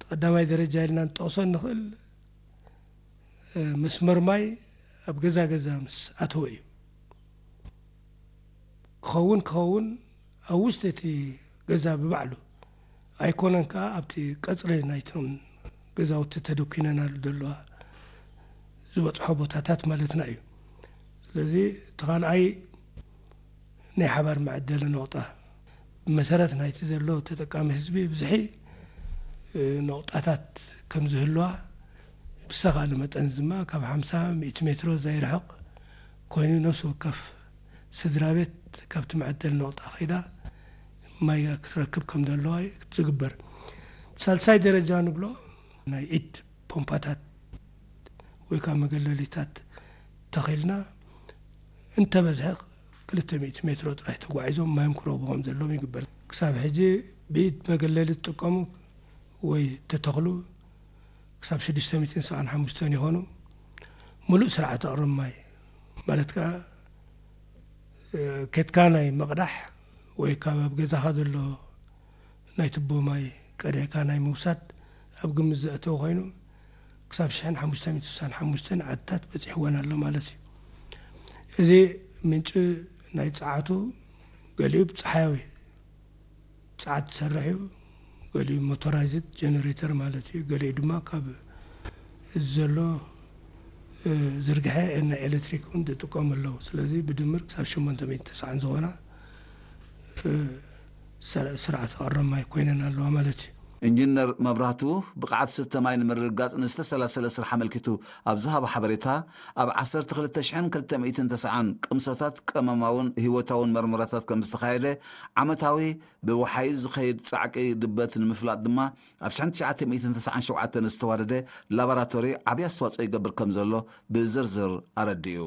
ቀዳማይ ደረጃ ኢልና ንጠቕሶ እንኽእል መስመር ማይ ኣብ ገዛ ገዛ ምስ ኣተወ እዩ። ክኸውን ክኸውን ኣብ ውሽጢ እቲ ገዛ ብባዕሉ ኣይኮነን፣ ከዓ ኣብቲ ቀፅሪ ናይቶም ገዛውቲ ተደኩነናሉ ዘለዋ ዝበፅሖ ቦታታት ማለትና እዩ። ስለዚ እቲ ካልኣይ ናይ ሓባር መዐደሊ ነቑጣ ብመሰረት ናይቲ ዘሎ ተጠቃሚ ህዝቢ ብዝሒ ነቑጣታት ከም ዝህልዋ ብዝተኻእለ መጠን ድማ ካብ ሓምሳ ሚእቲ ሜትሮ ዘይርሕቕ ኮይኑ ነፍሲ ወከፍ ስድራ ቤት ካብቲ መዐደሊ ነቑጣ ከይዳ ማይ ክትረክብ ከም ዘለዋ ዝግበር። ሳልሳይ ደረጃ ንብሎ ናይ ኢድ ፖምፓታት ወይ ከዓ መገለሊታት ተኺልና እንተበዝሐ ክልተ ሚእቲ ሜትሮ ጥራይ ተጓዒዞም ማዮም ክረኽቡ ከም ዘለዎም ይግበር። ክሳብ ሕጂ ብኢድ መገለሊ ትጥቀሙ ወይ ተተኽሉ ክሳብ ሽዱሽተ ሚእትን ሰብዓን ሓሙሽተን ይኾኑ። ሙሉእ ስርዓት ኣቕርብ ማይ ማለት ከዓ ኬትካ ናይ መቕዳሕ ወይ ካብ ኣብ ገዛኻ ዘሎ ናይ ትቦ ማይ ቀዲሕካ ናይ ምውሳድ ኣብ ግምት ዘእተወ ኮይኑ ክሳብ ሽሕን ሓሙሽተ ሚእትን ስሳን ሓሙሽተን ዓድታት በፂሕወን ኣሎ ማለት እዩ። እዚ ምንጪ ናይ ፀዓቱ ገሊኡ ብፀሓያዊ ፀዓት ዝሰርሕ እዩ፣ ገሊኡ ሞቶራይዝድ ጀነሬተር ማለት እዩ፣ ገሊኡ ድማ ካብ እዚ ዘሎ ዝርግሐ ናይ ኤሌክትሪክ እውን ዝጥቀሙ ኣለዉ። ስለዚ ብድምር ክሳብ ሸሞንተ ሚእቲ ተስዓን ዝኾና ስርዓት ኣቕርብ ማይ ኮይነን ኣለዋ ማለት እዩ። ኢንጂነር መብራህቱ ብቕዓት ስተ ማይ ንምርግጋፅ ንዝተሰላሰለ ስራሕ ኣመልኪቱ ኣብ ዝሃቦ ሓበሬታ፣ ኣብ ዓሰርተ ክልተ ሽሕን ክልተ ሚእትን ተስዓን ቅምሶታት ቀመማውን ህይወታውን መርመራታት ከም ዝተኻየደ፣ ዓመታዊ ብወሓይዝ ዝኸይድ ፃዕቂ ድበት ንምፍላጥ ድማ ኣብ ሽሕን ትሽዓተ ሚእትን ተስዓን ሸውዓተን ዝተዋደደ ላቦራቶሪ ዓብዪ ኣስተዋፅኦ ይገብር ከም ዘሎ ብዝርዝር ኣረዲኡ።